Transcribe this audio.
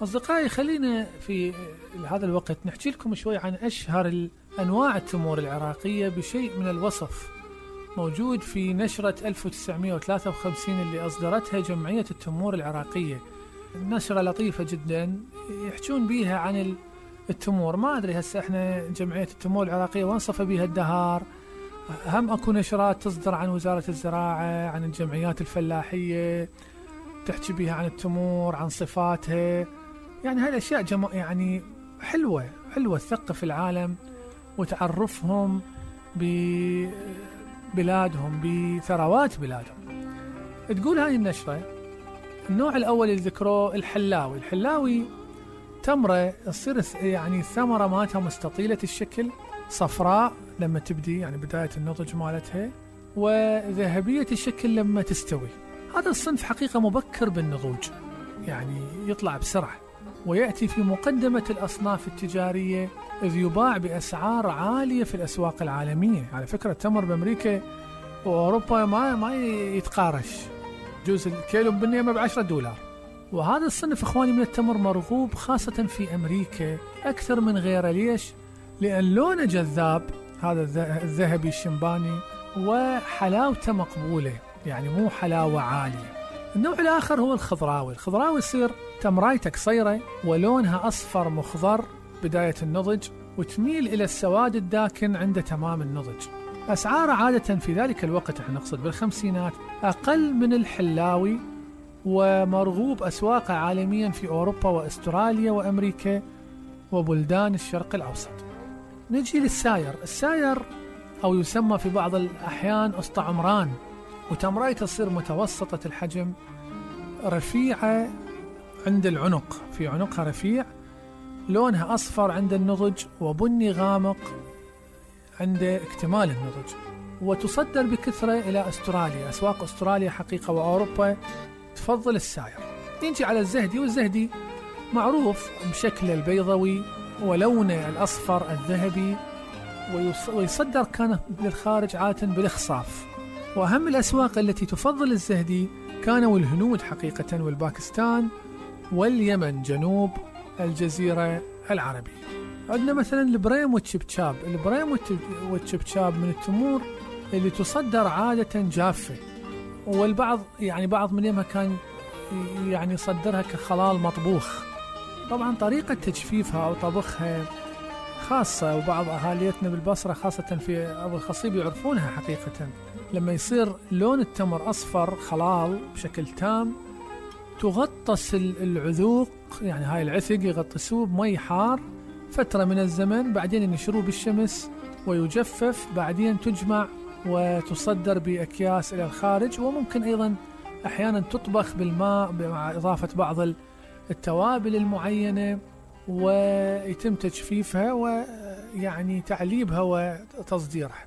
أصدقائي، خلينا في هذا الوقت نحكي لكم شوي عن أشهر أنواع التمور العراقية بشيء من الوصف، موجود في نشرة 1953 اللي أصدرتها جمعية التمور العراقية. نشرة لطيفة جدا يحجون بيها عن التمور. ما أدري هسه إحنا جمعية التمور العراقية وانصف بيها الدهار، هم أكو نشرات تصدر عن وزارة الزراعة، عن الجمعيات الفلاحية تحكي بيها عن التمور، عن صفاتها. يعني هاي الأشياء يعني حلوة تثقف العالم وتعرفهم ببلادهم، بثروات بلادهم. تقول هاي النشرة النوع الأول اللي ذكروه الحلاوي تمرة تصير يعني الثمرة مالتها مستطيلة الشكل، صفراء لما تبدي يعني بداية النضج مالتها، وذهبية الشكل لما تستوي. هذا الصنف حقيقة مبكر بالنضوج، يعني يطلع بسرعة، ويأتي في مقدمة الأصناف التجارية، إذ يباع بأسعار عالية في الأسواق العالمية. على فكرة التمر بأمريكا وأوروبا ما يتقارش، جوز الكيلو بالنيمة $10. وهذا الصنف إخواني من التمر مرغوب خاصة في أمريكا أكثر من غيره. ليش؟ لأن لونه جذاب، هذا الذهبي الشمباني، وحلاوته مقبولة، يعني مو حلاوة عالية. النوع الآخر هو الخضراوي يصير تمرايته قصيرة ولونها أصفر مخضر بداية النضج، وتميل إلى السواد الداكن عند تمام النضج. أسعاره عادة في ذلك الوقت، احنا نقصد بالخمسينات، أقل من الحلاوي، ومرغوب أسواقه عالميا في أوروبا وأستراليا وأمريكا وبلدان الشرق الأوسط. نجي الساير أو يسمى في بعض الأحيان أسطى عمران، وتمرايته تصير متوسطة الحجم، رفيعة عند العنق، في عنقها رفيع، لونها أصفر عند النضج وبني غامق عند اكتمال النضج، وتصدر بكثرة إلى أستراليا. أسواق أستراليا حقيقة وأوروبا تفضل الساير. نجي على الزهدي، والزهدي معروف بشكله البيضوي ولونه الأصفر الذهبي، ويصدر كان للخارج عادة بالإخصاف. وأهم الأسواق التي تفضل الزهدي كانوا الهنود حقيقة، والباكستان واليمن جنوب الجزيرة العربية. عندنا مثلا البريم والتشبشاب. البريم والتشبشاب من التمور اللي تصدر عادة جافة، والبعض يعني بعض منها كان يعني يصدرها كخلال مطبوخ. طبعا طريقة تجفيفها أو طبخها خاصة، وبعض أهاليتنا بالبصرة خاصة في أبو الخصيب يعرفونها حقيقة. لما يصير لون التمر أصفر خلال بشكل تام، تغطس العذوق، يعني هاي العثق يغطسوه بمي حار فترة من الزمن، بعدين ينشروه بالشمس ويجفف، بعدين تجمع وتصدر بأكياس إلى الخارج. وممكن أيضا أحيانا تطبخ بالماء مع إضافة بعض التوابل المعينة، ويتم تجفيفها ويعني تعليبها وتصديرها.